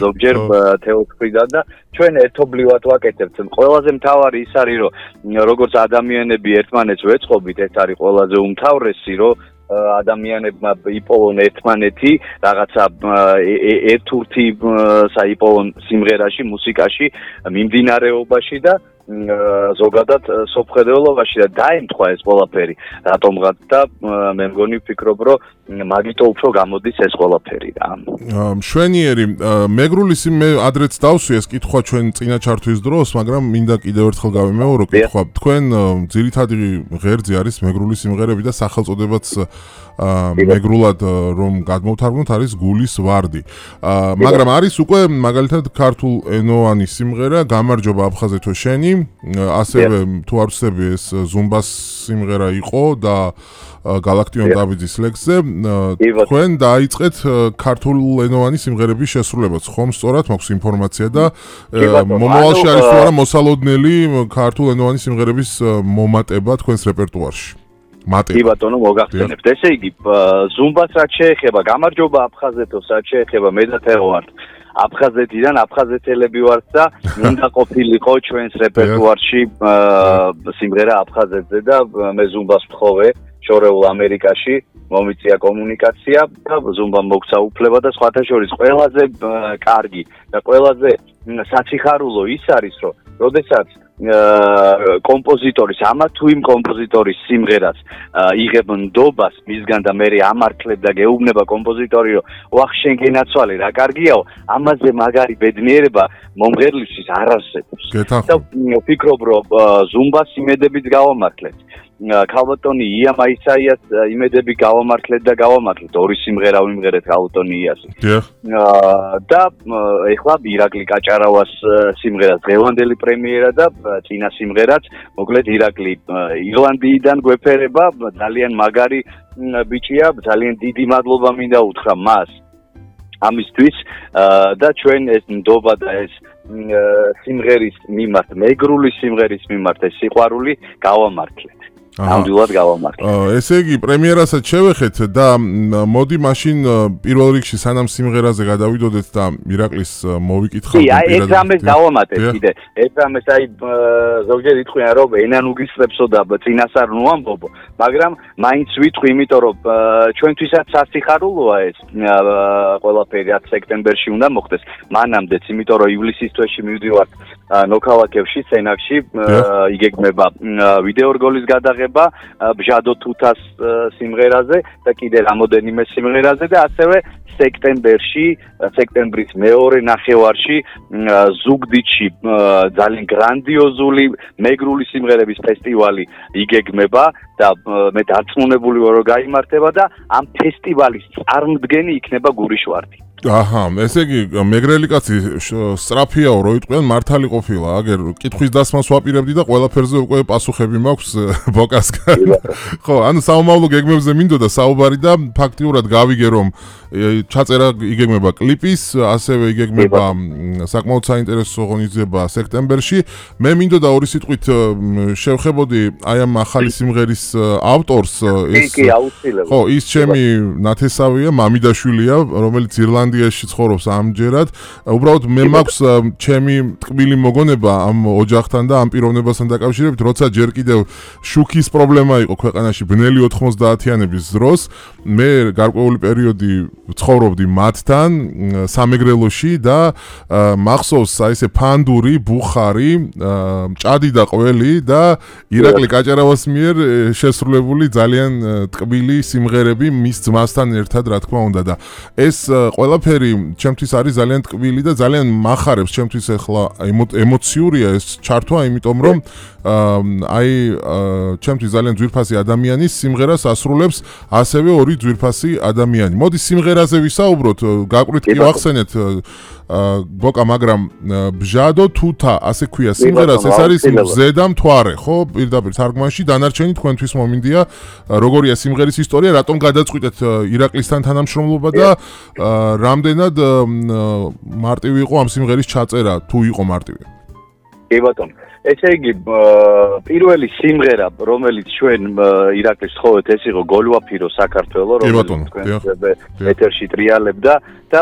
ზოგჯერ თეორიიდან და ჩვენ ერთობლივად ვაკეთებთ. ყველაზე მთავარი ის არის, რომ როგორც ადამიანები ერთმანეთს ვეწყობით, ეს არის ყველაზე უმთავრესი, რომ ადამიანებმა იპოვონ ერთმანეთი რაღაცა ერთურთი საიპოვონ სიმღერაში, მუსიკაში, მიმდინარეობაში და ზოგადად სოფხედეობაში და დაემთხვა ეს ყველაფერი რატომღაც და მე მგონი ვფიქრობ რომ მაგიტო უფრო გამოდის ეს ყველაფერი რა მშვენიერი მეგრული მე ადრეც დავსვი ეს კითხვა ჩვენ წინა ჩართვის დროს მაგრამ მინდა კიდევ ერთხელ გავიმეორო კითხვა თქვენ ძირითადი ღერძი არის მეგრული სიმღერები და სახელწოდებაც მეგრულად რომ გადმოვთარგმნოთ არის გულის ვარდი მაგრამ არის უკვე მაგალითად ქართულ ენოვანი სიმღერა გამარჯობა აფხაზეთო შენი ასევე თუ არ ვცდები ეს ზუმბას სიმღერა იყო და გალაქტიონ დავიძის ლექსზე თქვენ დაიწყეთ ქართულ ენოვანი სიმღერების შესრულებას ხომ სწორად მაქვს ინფორმაცია და მომავალში არის თუ არა მოსალოდნელი ქართულ ენოვანი სიმღერების მომატება თქვენს რეპერტუარში კი ბატონო მოგახსენებთ ესე იგი ზუმბას რაც შეეხება გამარჯობა აფხაზეთოს რაც შეეხება მე და თეო ვართ აფხაზეთიდან აფხაზეთელები ვართ და უნდა ყოფილიყო ჩვენს რეპერტუარში სიმღერა აფხაზეთზე და მე ზუმბას ვთხოვე შორეულ ამერიკაში მომიწია კომუნიკაცია და ზუმბამ მოგცა უფლება და სხვათა შორის ყველაზე კარგი და ყველაზე საციხარულო ის არის რომ როდესაც კომპოზიტორის ამა თუ იმ კომპოზიტორის სიმღერას იღებ ნდობას მისგან და მე ამართლებ და გეუბნება კომპოზიტორი რომ ვახ შენ გენაცვალე რა კარგიაო ამაზე მაგარი ბედნიერება მომღერლისთვის არ არსებობს და ვფიქრობ რომ ზუმბას იმედებით გავამართლეთ ქალბატონი ია მაისაიას იმედები გავამართლეთ და გავამართლეთ ორი სიმღერა ვიმღერეთ ქალბატონი იასი და ეხლა ირაკლი კაჭარავას სიმღერა დღევანდელი პრემიერა და წინა სიმღერაც მოკლედ ირაკლი ირლანდიიდან გვეფერება ძალიან მაგარი ბიჭია ძალიან დიდი მადლობა მინდა უთხრა მას ამისთვის და ჩვენ ეს ნდობა და ეს სიმღერის მიმართ მეგრული სიმღერის მიმართ ეს სიყვარული გავამართლეთ ნამდვილად გავამართლეთ. ესე იგი პრემიერასაც შევეხეთ და მოდი მაშინ პირველ რიგში სანამ სიმღერაზე გადავიდოდეთ და ირაკლის მოვიკითხავთ. კი, აი ეს რამეს დავამატეთ კიდე. ეს რამეს აი ზოგჯერ იტყვიან რომ ენან უგისწრებსო და წინას არ ნუ ამბობო, მაგრამ მაინც ვიტყვი, იმიტომ რომ ჩვენთვისაც სასიხარულოა ეს ყველაფერი 10 სექტემბერში უნდა მოხდეს. მანამდეც, იმიტომ რომ ივლისის თვეში მივდივართ ნოქალაქევში, სენაკში, იგეგმება ვიდეო რგოლის გადაღება ბჟადო თუთას სიმღერაზე და კიდე რამოდენიმე სიმღერაზე და ასევე სექტემბერში, სექტემბრის მეორე ნახევარში ზუგდიდში ძალიან გრანდიოზული მეგრული სიმღერების ფესტივალი იგეგმება და მე დარწმუნებული ვარ რომ გაიმართება და ამ ფესტივალის წარმდგენი იქნება გურიშვარდი. აჰა, ესე იგი მეგრელი კაცი სწრაფიაო რო იტყვიან მართალი ყოფილა, აგერ კითხვის დასმას ვაპირებდი და ყველაფერზე უკვე პასუხები მაქვს ბოკასკა. ხო, ანუ საომავლო გეგმებზე მინდოდა საუბარი და ფაქტიურად გავიგე რომ ჩაწერა იგეგმება კლიპის, ასევე იგეგმება საკმაოდ საინტერესო ღონისძიება სექტემბერში. მე მინდოდა ორი სიტყვით შევხებოდი აი ამ ახალი სიმღერის ავტორს ეს ხო, ის ჩემი ნათესავია, მამიდაშვილია, რომელიც ირლანდიაში ცხოვრობს ამჯერად. უბრალოდ მე მაქვს ჩემი ტკბილი მოგონება ამ ოჯახთან და ამ პიროვნებასთან დაკავშირებით, როცა ჯერ კიდევ შუქის პრობლემა იყო ქვეყანაში ბნელი 90-იანების დროს, მე გარკვეული პერიოდი ცხოვრობდი მათთან სამეგრელოში და მახსოვს აი ესე ფანდური, ბუხარი, ჭადი და ყველი და ირაკლი კაჭარავას მიერ შესრულებული ძალიან ტკბილი სიმღერები მის ძმასთან ერთად, რა თქმა უნდა და ეს ყველაფერი ჩემთვის არის ძალიან ტკბილი და ძალიან მახარებს ჩემთვის ახლა ემოციურია ეს ჩართვა, იმიტომ რომ აი ჩემთვის ძალიან ძვირფასი ადამიანის სიმღერას ასრულებს ასევე ორი ძვირფასი ადამიანი. მოდი სიმღერაზე ვისაუბროთ, გაკვირთ კი ვახსენეთ ბოკა, მაგრამ ბჟადო თუთა, ასე ქვია სიმღერას, ეს არის მზე და მთვარე, ხო? პირდაპირ თარგმანში დანარჩენი თქვენთვის მომინდია, როგორია სიმღერის ისტორია, რატომ გადაწყვიტეთ ირაკლისთან თანამშრომლობა და რამდენად მარტივი იყო ამ სიმღერის ჩაწერა, თუ იყო მარტივი? კი ბატონო. ესე იგი, პირველი სიმღერა, რომელიც ჩვენ ირაკლის თხოვეთ, ეს იყო გოლვაფირო საქართველო, რომელიც თქვენ ეთერში ტრიალებდა და